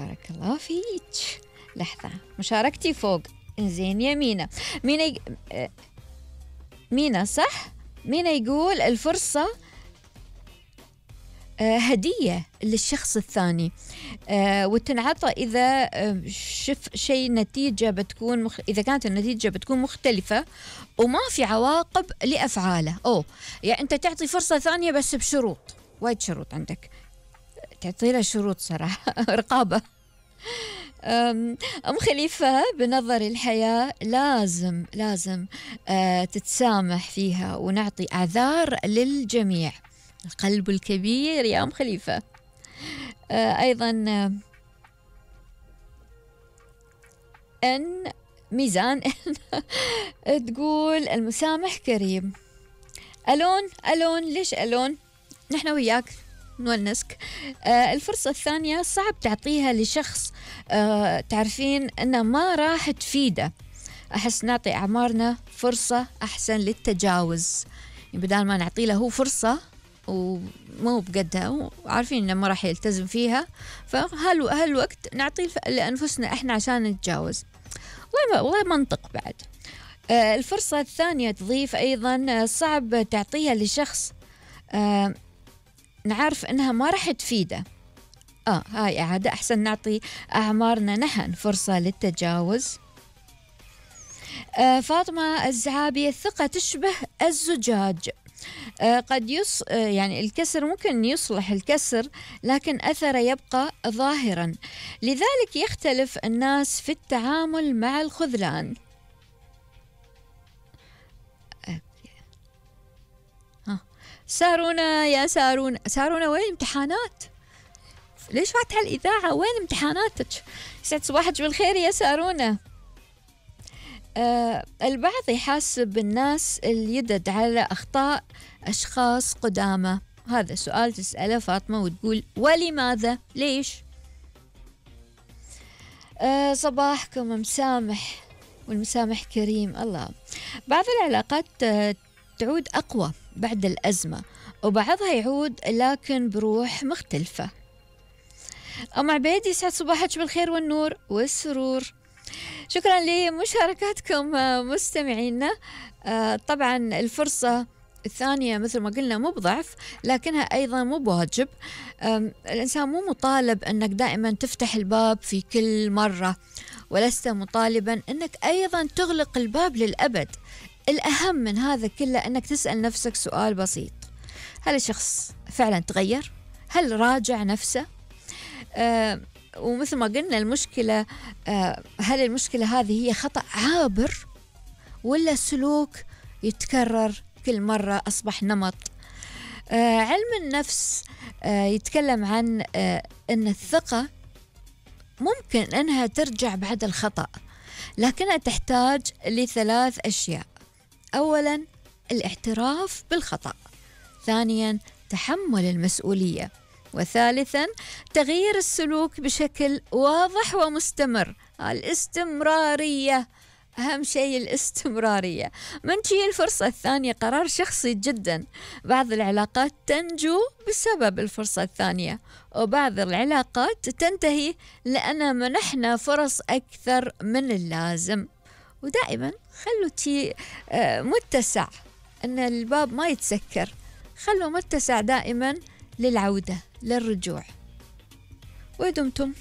بارك الله فيك. لحظة، مشاركتي فوق. إنزين يا مينا. مينا مينا صح؟ مينا يقول الفرصة هدية للشخص الثاني، وتنعطى إذا شف شيء نتيجة بتكون إذا كانت النتيجة بتكون مختلفة وما في عواقب لأفعاله. يعني أنت تعطي فرصة ثانية بس بشروط، وايد شروط عندك، تعطي له شروط صراحة رقابة. أم خليفة بنظر الحياة لازم تتسامح فيها ونعطي أعذار للجميع. القلب الكبير يا أم خليفة. أيضا أن ميزان تقول المسامح كريم. ألون ليش ألون؟ نحن وياك نونسك. الفرصة الثانية صعب تعطيها لشخص تعرفين أنه ما راح تفيده. أحس نعطي أعمارنا فرصة أحسن للتجاوز، يعني بدال ما نعطي له فرصة ومو بقدها وعارفين إنه ما راح يلتزم فيها، فهالوقت نعطي لأنفسنا إحنا عشان نتجاوز. والله منطق بعد. الفرصة الثانية تضيف أيضا صعب تعطيها لشخص نعرف إنها ما راح تفيده. هاي عادة أحسن نعطي أعمارنا نحن فرصة للتجاوز. فاطمة الزعابي الثقة تشبه الزجاج، قد يعني الكسر ممكن يصلح الكسر لكن أثره يبقى ظاهرا، لذلك يختلف الناس في التعامل مع الخذلان. سارونا يا سارونا وين امتحانات؟ ليش فاتحة الإذاعة؟ وين امتحاناتك؟ يسعد صباحك بالخير يا سارونا. البعض يحاسب الناس اليدد على أخطاء أشخاص قدامى. هذا سؤال تسأله فاطمة وتقول ولماذا؟ ليش؟ صباحكم مسامح والمسامح كريم. الله. بعض العلاقات تعود أقوى بعد الأزمة وبعضها يعود لكن بروح مختلفة. أم عبيد يسعد صباحك بالخير والنور والسرور. شكرا لمشاركاتكم مستمعينا. طبعا الفرصة الثانية مثل ما قلنا مو بضعف لكنها أيضا مو بواجب. الإنسان مو مطالب أنك دائما تفتح الباب في كل مرة، ولست مطالبا أنك أيضا تغلق الباب للأبد. الأهم من هذا كله أنك تسأل نفسك سؤال بسيط: هل الشخص فعلا تغير؟ هل راجع نفسه؟ ومثل ما قلنا المشكلة، هل المشكلة هذه هي خطأ عابر ولا سلوك يتكرر كل مرة أصبح نمط؟ علم النفس يتكلم عن أن الثقة ممكن أنها ترجع بعد الخطأ، لكنها تحتاج لثلاث أشياء: أولا الاعتراف بالخطأ، ثانيا تحمل المسؤولية، وثالثا تغيير السلوك بشكل واضح ومستمر. الاستمرارية أهم شيء، الاستمرارية. من تجي الفرصة الثانية قرار شخصي جدا. بعض العلاقات تنجو بسبب الفرصة الثانية، وبعض العلاقات تنتهي لأن منحنا فرص أكثر من اللازم. ودائما خلوا تي متسع، أن الباب ما يتسكر، خلوا متسع دائما للعودة للرجوع. ودمتم